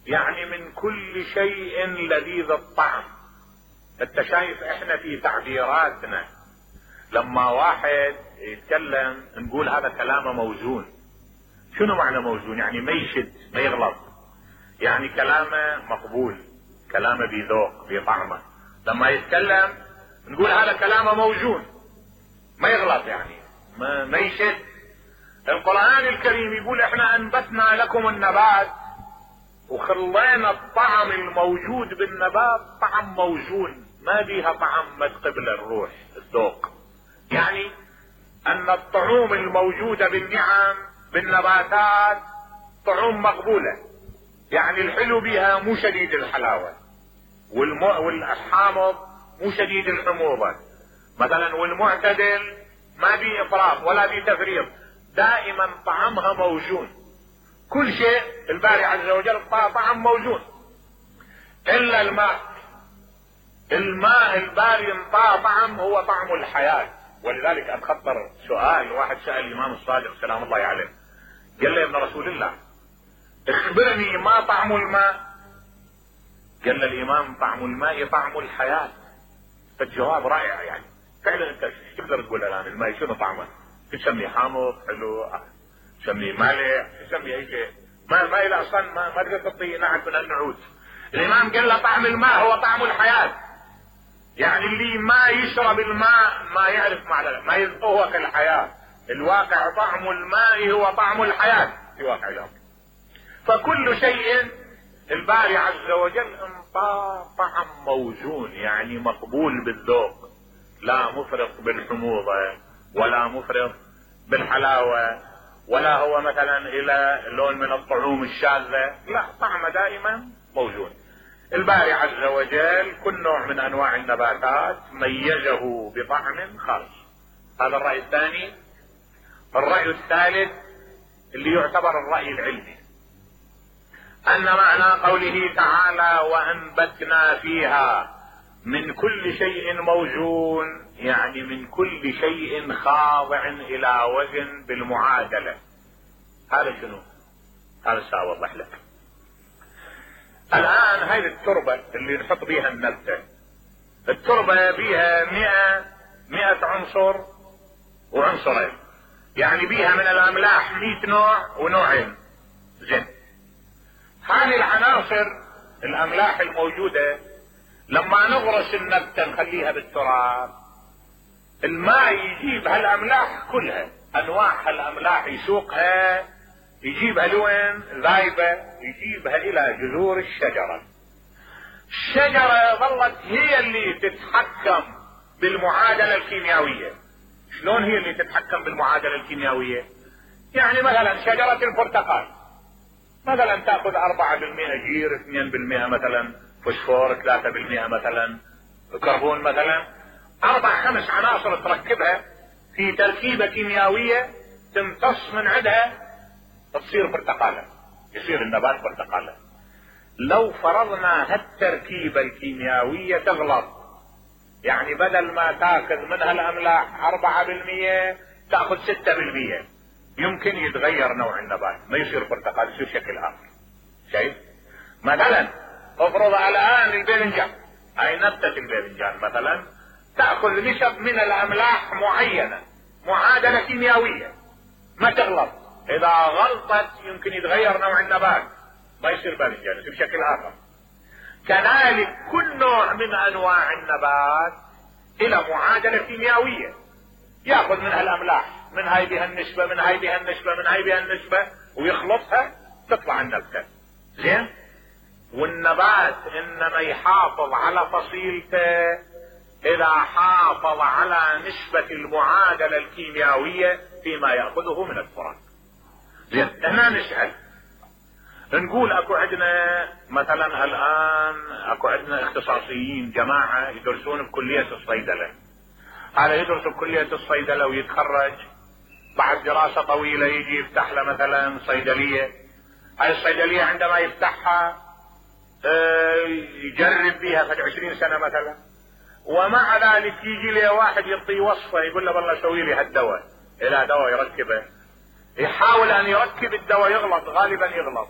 يعني من كل شيء لذيذ الطعم. انت شايف احنا في تعبيراتنا لما واحد يتكلم نقول هذا كلامه موزون. شنو معنى موزون؟ يعني ما يشد ما يغلط، يعني كلامه مقبول، كلامه بذوق بطعمه. لما يتكلم نقول هذا كلامه موزون ما يغلط، يعني ما يشد. القرآن الكريم يقول احنا انبتنا لكم النبات وخلينا الطعم الموجود بالنبات طعم موزون، ما بيها طعم ما تقبل الروح الذوق. يعني ان الطعوم الموجودة بالنعم بالنباتات طعوم مقبولة، يعني الحلو بها مو شديد الحلاوة، والحامض مو شديد الحموضة مثلا، والمعتدل ما بيه افراط ولا بيه تفريط، دائما طعمها موزون. كل شيء الباري عز وجل طعم موزون الا الماء. الماء الباري انطى طعم هو طعم الحياة. ولذلك اتخطر سؤال، واحد سأل الامام الصادق سلام الله عليه، قال له يا ابن رسول الله اخبرني ما طعم الماء؟ قال له الامام طعم الماء طعم الحياة. فالجواب رائع، يعني فعلا انت شو تقدر تقول الان الماء شنو طعمه؟ تسميه حامض حلو، تسميه مالح، تسميه اي شيء، ما الى اصلا ما تقدر تعطيه نعت من النعوت. الامام قال له طعم الماء هو طعم الحياة، يعني اللي ما يشرب الماء ما يعرف معنى، ما يذوق الحياة. الواقع طعم الماء هو طعم الحياة في واقع الامر. فكل شيء الباري عز وجل انطى طعم موزون، يعني مقبول بالذوق، لا مفرط بالحموضة ولا مفرط بالحلاوة، ولا هو مثلا الى لون من الطعوم الشاذة، لا طعمه دائما موزون. الباري عز وجل كل نوع من انواع النباتات ميزه بطعم خاص. هذا الرأي الثاني. الرأي الثالث اللي يعتبر الرأي العلمي، ان معنى قوله تعالى وانبتنا فيها من كل شيء موزون، يعني من كل شيء خاضع الى وزن بالمعادلة. هذا شنو؟ هذا سأوضح لك. الان هاي التربة اللي نحط بيها النبتة، التربة بيها 100 عنصر وعنصرين، يعني بيها من الاملاح 100 نوع ونوعين. زين، هذه العناصر الاملاح الموجودة لما نغرس النبتة نخليها بالتراب، الماء يجيب هالاملاح كلها، انواع هالاملاح يسوقها، يجيبها لوين؟ ذايبة، يجيبها الى جذور الشجرة. الشجرة ظلت هي اللي تتحكم بالمعادلة الكيميائية. شلون هي اللي تتحكم بالمعادلة الكيميائية؟ يعني مثلا شجرة البرتقال مثلا تأخذ 4% جير، 2% مثلا فوسفور، 3% مثلا كربون، مثلا 4-5 عناصر تركبها في تركيبة كيميائية تمتص من عندها تصير برتقالة، يصير النبات برتقالة. لو فرضنا هالتركيبة الكيميائية تغلط، يعني بدل ما تاخذ منها الاملاح 4% تاخذ 6%، يمكن يتغير نوع النبات، ما يصير برتقال، يصير شكل اخر. شايف؟ مثلا افرض الان الباذنجان، هاي نبتة الباذنجان مثلا تاخذ نسب من الاملاح معينة، معادلة كيميائية ما تغلط، اذا غلطت يمكن يتغير نوع النبات، ما يصير باذنجان، يصير شكل اخر. كذلك كل نوع من انواع النبات الى معادلة كيميائية، ياخذ منها الاملاح، من هاي بها النسبة، من هاي بها النسبة، من هاي بها النسبة، ويخلطها تطلع النبتة. زين؟ والنبات انما يحافظ على فصيلته اذا حافظ على نسبة المعادلة الكيميائية فيما يأخذه من التراب. زين، هنا نسأل نقول اكو عندنا مثلا الان اكو عندنا اختصاصيين جماعة يدرسون بكلية الصيدلة، هذا يدرس بكلية الصيدلة ويتخرج بعد دراسة طويلة يجي يفتح له مثلا صيدلية. هاي الصيدلية عندما يفتحها يجرب بيها فد 20 سنة مثلا، ومع ذلك يجي له واحد يعطيه وصفة يقول له والله سوي لي هالدواء، الى دواء يركبه، يحاول ان يركب الدواء يغلط، غالبا يغلط،